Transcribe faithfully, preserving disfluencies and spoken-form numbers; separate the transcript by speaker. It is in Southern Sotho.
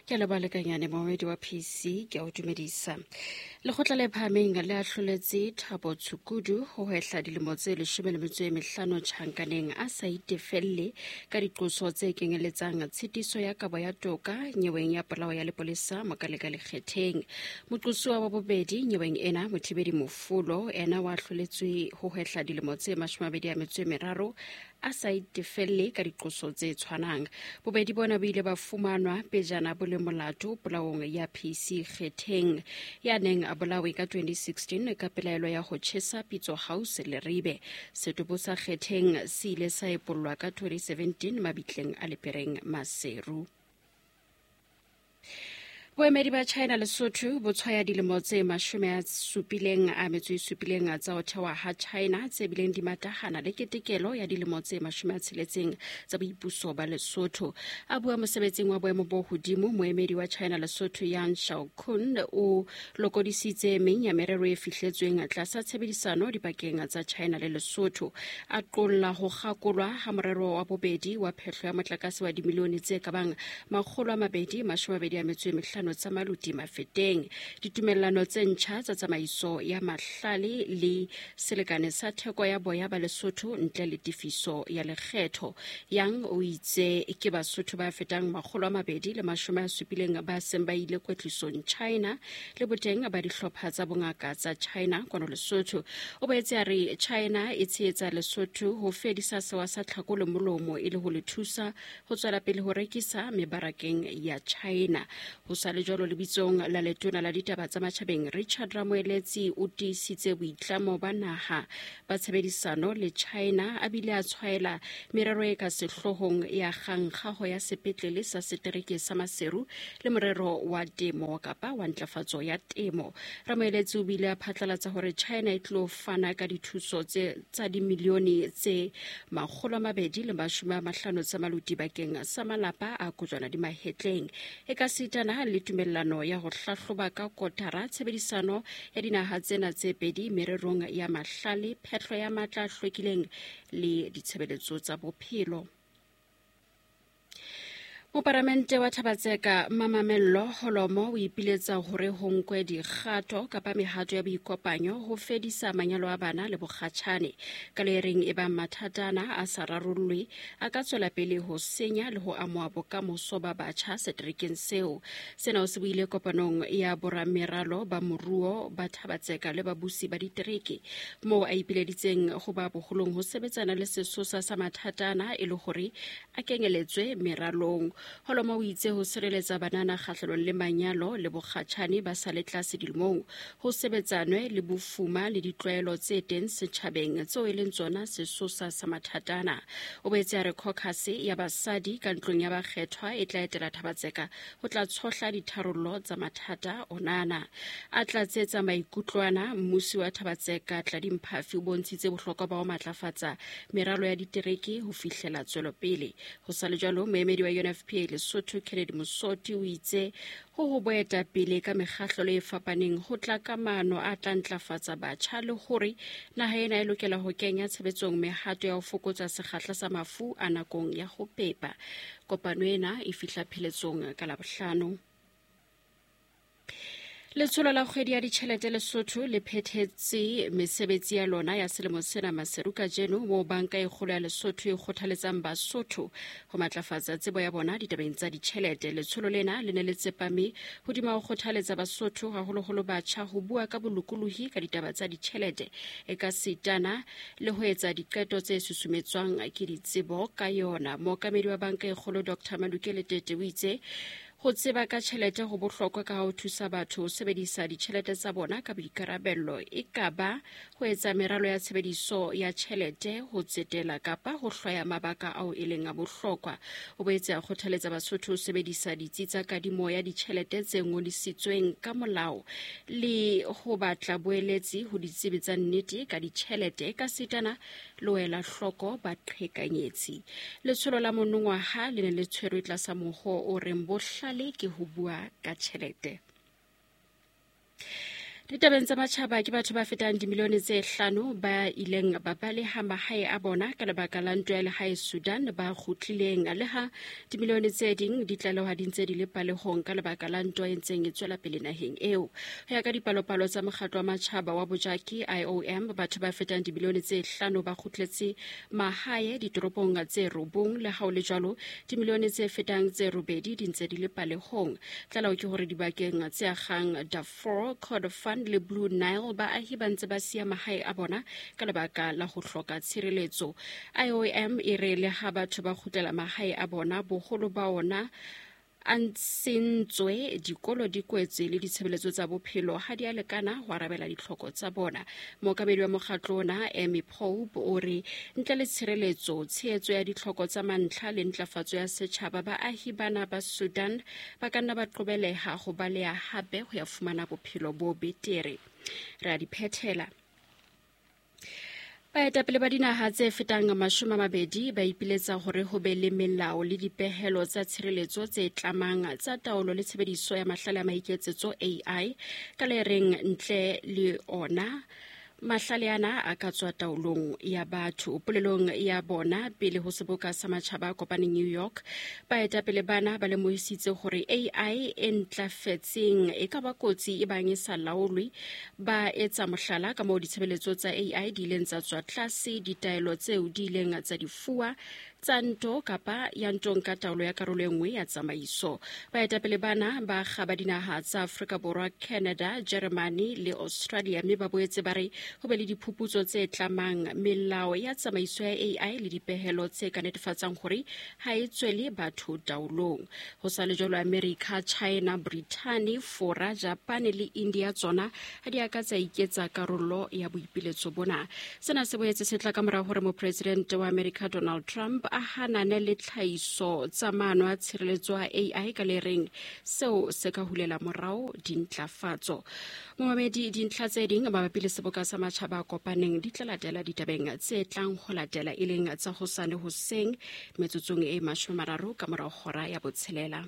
Speaker 1: Ke a leboha lekanyane momedi wa P C, ke a o dumedisa. Lekgotla le phahameng le ahloletse Thabo Tshukudu ho hwehla dilemo tse leshome le metso e mehlano tjhankaneng a sa itefelle ka diqoso tse kenyeletsang tshitiso ya kabo ya toka nyeweng ya polao ya lepolesa Mokaleka Lekgetheng. Moqosuwa wa bobedi nyeweng ena, Mothibedi Mofolo, ena wa ahloletswe ho hwehla dilemo tse mashome a mabedi a metso e meraro a sa itefelle ka diqoso tse tshwanang. Bobedi bona bo ile ba fumanwa pejana bo le molato polaong ya P C Kgetheng ya neng a bolawe ka twenty sixteen ka pelaelo ya ho tjhesa Pitso House Leribe. Setopo sa Kgetheng se ile sa epollwa ka twenty seventeen mabitleng a Lepereng Maseru. Boemedi ba China Lesotho bo tshwaya dilemo tse mashome a supileng a metso e supileng tsa ho thewa ha China tse bileng di matahana le ketekelo ya dilemo tse mashome a tsheletseng tsa boipuso ba Lesotho. A bua mosebetsing wa boemo bo hodimo, moemedi wa China Lesotho Yang Xiaokun o lokodisitse meng ya merero e fihletsweng tlasa tshebedisano dipakeng tsa China le Lesotho. A qolla ho kgakolwa ha morero wa bobedi wa phehlo ya motlakase wa dimilione tse ka bang makgolo a mabedi mashome a mabedi a metso e mehlano tsa maluti Mafeteng. Ditumellano tse ntjha tsa tsamaiso ya mahlale le selekane sa theko ya boya ba Lesotho ntle le tefiso ya lekgetho. Yang o itse ke Basotho ba fetang makgolo a mabedi le mashome a supileng ba seng ba ile kwetlisong China le boteng ba dihlopha tsa bongaka tsa China kwano Lesotho. O boetse a re China e tshehetsa Lesotho ho fedisa sewa sa tlhako le molomo e le ho le thusa ho tswela pele ho rekisa mebarakeng ya China. Ho sa le jwalo lebitsong la letona la ditaba tsa matjhabeng Richard Ramoeletsi o tiisitse boitlamo ba naha ba tshebedisano le China, a bile a tshwaela merero e ka sehloohong ya kgankgaho ya sepetlele sa setereke sa Maseru le morero wa temo kapa wa ntlafatso ya temo. Ramoeletsi o bile a phatlalatsa hore China e tlo fana ka dithuso tse tsa dimilione tse makgolo a mabedi le mashome a mahlano tsa maluti bakeng sa malapa a kojwana di mahetleng. E ka sitana le tumellano ya ho hlahloba ka kotara tshebedisano ya dinaha tsena tse pedi mererong ya mahlale, phehlo ya matla a hlwekileng le ditshebeletso tsa bophelo. Moparamente wa Thabatseka Mamamello Holomo o ipiletsa hore ho nkwe dikgato kapa mehato ya boikopanyo ho fedisa manyalo a bana le bokgatjhane. Ka le reng e bang mathatana a sa rarollwe a ka tswela pele ho senya le ho amoha bokamoso ba batjha seterekeng seo. Sena o se buile kopanong ya borameralo ba moruo ba Thabatseka le babusi ba ditereke, moo a ipileditseng ho ba boholong ho sebetsana le sesosa sa mathatana e le hore a kenyeletswe meralong. Holomo o itse ho sireletsa banana kgahlanong le manyalo le bokgatjhane ba sa le tlase dilemong, ho sebetsanwe le bofuma le ditlwaelo tse teng setjhabeng tseo e leng tsona sesosa sa mathatana. O boetse a re caucus ya basadi ka ntlong ya bakgethwa e tla etela Thabatseka ho tla tshohla ditharollo tsa mathata onana. A tlatsetsa maikutlwana, mmusi wa Thabatseka Tladi Mphafi o bontshitse bohlokwa ba ho matlafatsa meralo ya ditereke ho fihlela tswelopele. Ho sa le jwalo, moemedi wa U N F P A Lesotho Kennedy Mosoti o itse ho ho boetapele ka mekgahlelo e fapaneng ho tla ka maano a tla ntlafatsa batjha le hore naha ena e lokela ho kenya tshebetsong mehato ya ho fokotsa sekgahla sa mafu a nakong ya ho pepa. Kopano ena e fihla pheletsong ka Labohlano. Letsholo la kgwedi ya ditjhelete Lesotho le phethetse mesebetsi ya lona ya selemo sena Maseru kajeno, moo banka e kgolo ya Lesotho e kgothaletsang Basotho ho matlafatsa tsebo ya bona ditabeng tsa ditjhelete. Letsholo lena le ne le tsepame hodima ho kgothaletsa Basotho haholoholo batjha ho bua ka bolokolohi ka ditaba tsa ditjhelete e ka sitana le ho etsa diqeto tse susumetswang ke ditsebo ka yona. Mookamedi wa banka e kgolo Doctor Maluke Letete o itse ho tseba ka tjhelete ho bohlokwa ka ho thusa batho ho sebedisa ditjhelete tsa bona ka boikarabello, e ka ba ho etsa meralo ya tshebediso ya tjhelete, ho tsetela kapa ho hlwaya mabaka ao e leng a bohlokwa. O boetse a kgothaletsa Basotho ho sebedisa ditsi tsa kadimo ya ditjhelete tse ngodisitsweng ka molao le ho batla boeletsi ho ditsebi tsa nnete ka ditjhelete ka sitana le ho ela hloko baqhekanyetsi. Letsholo la monongwaha le ne le tshwerwe tlasa moho o reng bohlale ke ho bua ka tjhelete. Ditabeng tsa matjhaba, ke batho ba fetang dimilione tse hlano ba ileng ba baleha mahae a bona ka lebaka la ntwa ya lehae Sudan ba kgutlileng, leha dimilione tse ding di tlalehwa di ntse di le palehong ka lebaka la ntwa e ntseng e tswela pele naheng eo. Ho ya ka dipalopalo tsa mokgatlo wa matjhaba wa bojaki I O M, batho ba fetang dimilione tse hlano ba kgutletse mahae ditoropong tse robong, le ha ho le jwalo dimilione tse fetang tse robedi di ntse di le palehong. Tlaleho ke hore dibakeng tse akgang Darfur, Kordofan le Blue Nile, baahi ba ntse ba siya mahae a bona ka lebaka la ho hloka tshireletso. I O M e re le ha batho ba kgutlela mahae a bona, boholo ba ona a ntshentswe, dikolo di kwetswe le ditshebeletso tsa bophelo ha di a lekana ho arabela ditlhoko tsa bona. Mookamedi wa mokgatlo ona Amy Pope o re ntle le tshireletso, tshehetso ya ditlhoko tsa mantlha le ntlafatso ya setjhaba, baahi bana ba Sudan ba ka nna ba qobeleha ho baleha hape ho ya fumana bophelo bo betere. Re a di phethela. Baetapele ba dinaha tse fetang mashome a mabedi ba ipiletsa hore ho be le melao le dipehelo tsa tshireletso tse tlamang tsa taolo le tshebediso ya mahlale a maiketsetso A I, ka le reng ntle le ona mahlale ana a ka tswa taolong ya batho. Polelong ya bona pele ho seboka sa matjhaba a kopaneng New York, baetapele bana ba lemohisitse hore A I e ntlafetseng e ka ba kotsi e bang e sa laolwe. Ba etsa mohlala ka moo ditshebeletso tsa A I di ileng tsa tswa tlase, ditaelo tseo di ileng tsa di fuwa tsa nto kapa ya ntong ka taolo ya karolo e nngwe ya tsamaiso. Baetapele bana ba kgaba dinaha tsa Afrika Borwa, Canada, Germany le Australia, mme ba boetse ba re ho be le diphuputso tse tlamang melao ya tsamaiso ya A I le dipehelo tse ka netefatsang hore ha e tswele batho taolong. Ho sa le jwalo, America, China, Britain, Fora, Japan le India tsona ha di a ka tsa iketsa karolo ya boipiletso bona. Sena se boetse se tla ka mora hore mopresidente wa America Donald Trump a hanane le tlhahiso tsa maano a tshireletso a A I ka le reng seo se ka hulela morao dintlafatso. Momamedi, dintlha tse ding mabapi le seboka sa matjhaba a kopaneng di tla latela ditabeng tse tlang ho latela, e leng tsa hosane hoseng metsotsong e mashome a mararo ka morao hora ya botshelela.